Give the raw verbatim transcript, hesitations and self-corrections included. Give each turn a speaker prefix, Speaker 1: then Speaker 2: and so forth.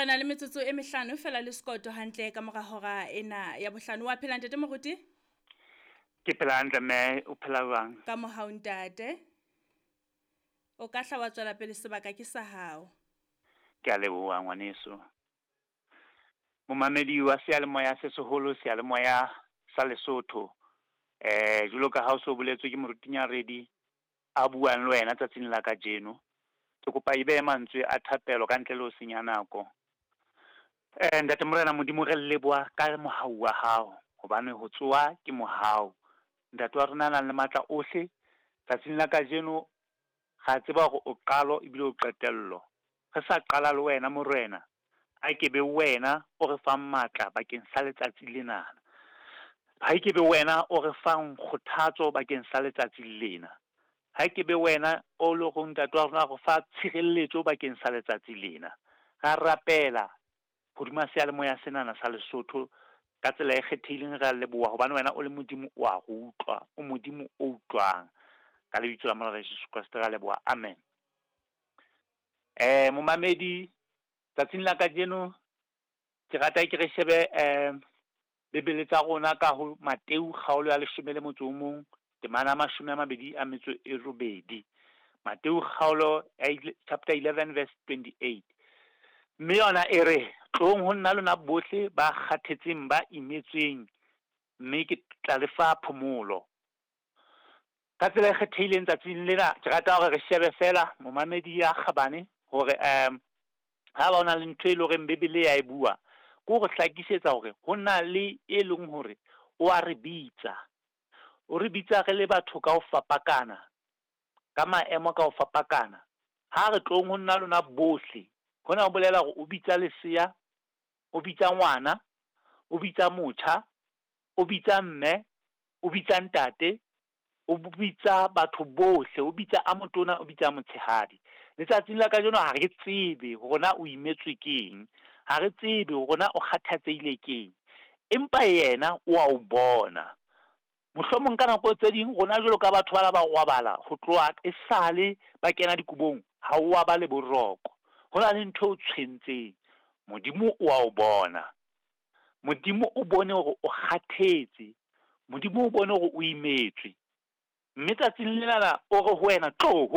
Speaker 1: Re na le metsotso e mehlano fela le sekoto hantle ka mora hora ena ya bohlano. Wa phela, ntate moruti?
Speaker 2: Ke phela hantle, mme o phela jwang?
Speaker 1: Ka mohau, ntate. O ka hla wa tswela pele, sebaka ke sa hao.
Speaker 2: Ke a leboha, ngwaneso. Momamedi wa seyalemoya se seholo, seyalemoya sa Lesotho. Eh jwalo ka ha o so boletswe, ke moruti Nyaredi a buang le wena tsatsing la kajeno. Ke kopa e behe mantswe a thapelo ka ntle le ho senya nako. Eh ntate Morena Modimo, re leboha ka mohau wa hao, hobane ho tsoha ke mohau. Ntate wa rona nang le matla ohle, tsatsing la kajeno ra tseba hore o qalo ebile o qetello. Re sa qala le wena, Morena, a ke be wena o re fang matla bakeng sa letsatsi lena. Ha ke be wena o re fang kgothatso bakeng sa letsatsi lena. Ha ke be wena o le go ntate wa rona go fa tshireletso bakeng sa letsatsi lena. Ra rapela hodima seyalemoya senana sa Lesotho ka tsela e kgethehileng. Re a leboha hobane wena o le Modimo o a re utlwa, o Modimo o utlwang. Ka lebitso la Morena Jesu Kreste ra leboha, amen. Eh momamedi, tsatsing la kajeno ke rata ke re shebe eh Bibele tsa rona ka ho Mateu kgaolo ya leshome le motso o mong, temana mashome a mabedi a metso e robedi. Mateu kgaolo chapter eleven verse twenty-eight. Mme yona e re, tlong ho nna lona bohle ba kgathetseng, ba imetsweng, mme ke tla le fa phomolo. Ka tsela e kgethehileng tsatsing lena ke rata hore re shebe fela, momamedi ya kgabane, hore um ha ba ona le ntho e leng hore Bibele ya e bua, ke hore hlakisetsa hore ho na le e leng hore o a re bitsa. O re bitsa re le batho ka ho fapakana, ka maemo ka ho fapakana. Ha re tlong ho nna lona bohle, hona ho bolela hore o bitsa lesea, o bitsa ngwana, o bitsa motjha, o bitsa mme, o bitsa ntate, o bitsa batho bohle, o bitsa a motona, o bitsa a motshehadi. Letsatsing la kajeno ha re tsebe hore na o imetswe keng, ha re tsebe hore na o kgathatsehile keng, empa yena o a o bona. Mohlomong ka nako tse ding rona jwalo ka batho bana ba robala ho tloha esale ba kena dikobong, ha o wa ba le boroko. Ho na le ntho e o tshwentseng, Modimo o a o bona. Modimo o bone hore o kgathetse, Modimo o bone hore o imetswe. Mme tsatsing lenana o re ho wena, tlo ho